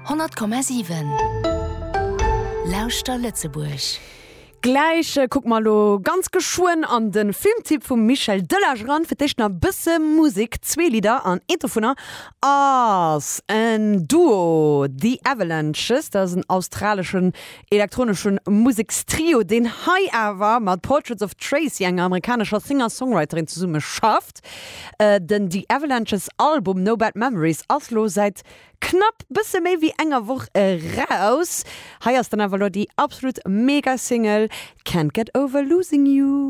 100,7 Lauschter Lëtzebuerg. Gläich kucke mer elo ganz geschwënn an de Filmtipp vum Michel Delage eran. Fir d'éischt nach e bësse Musek, zwee Lidder an eent dovunner ass en Duo, The Avalanches. Dat ass en australeschen elektronesche Musekstrio, deen hei awer mat Portraits of Tracy, enger amerikanescher Singer-Songwriterin, zesumme schafft. Den The Avalanches Album No Bad Memories ass lo säit knapp bësse méi wéi enger Woch eraus. Hei ass dann awer lo déi absolut mega Single Can't Get Over Losing You.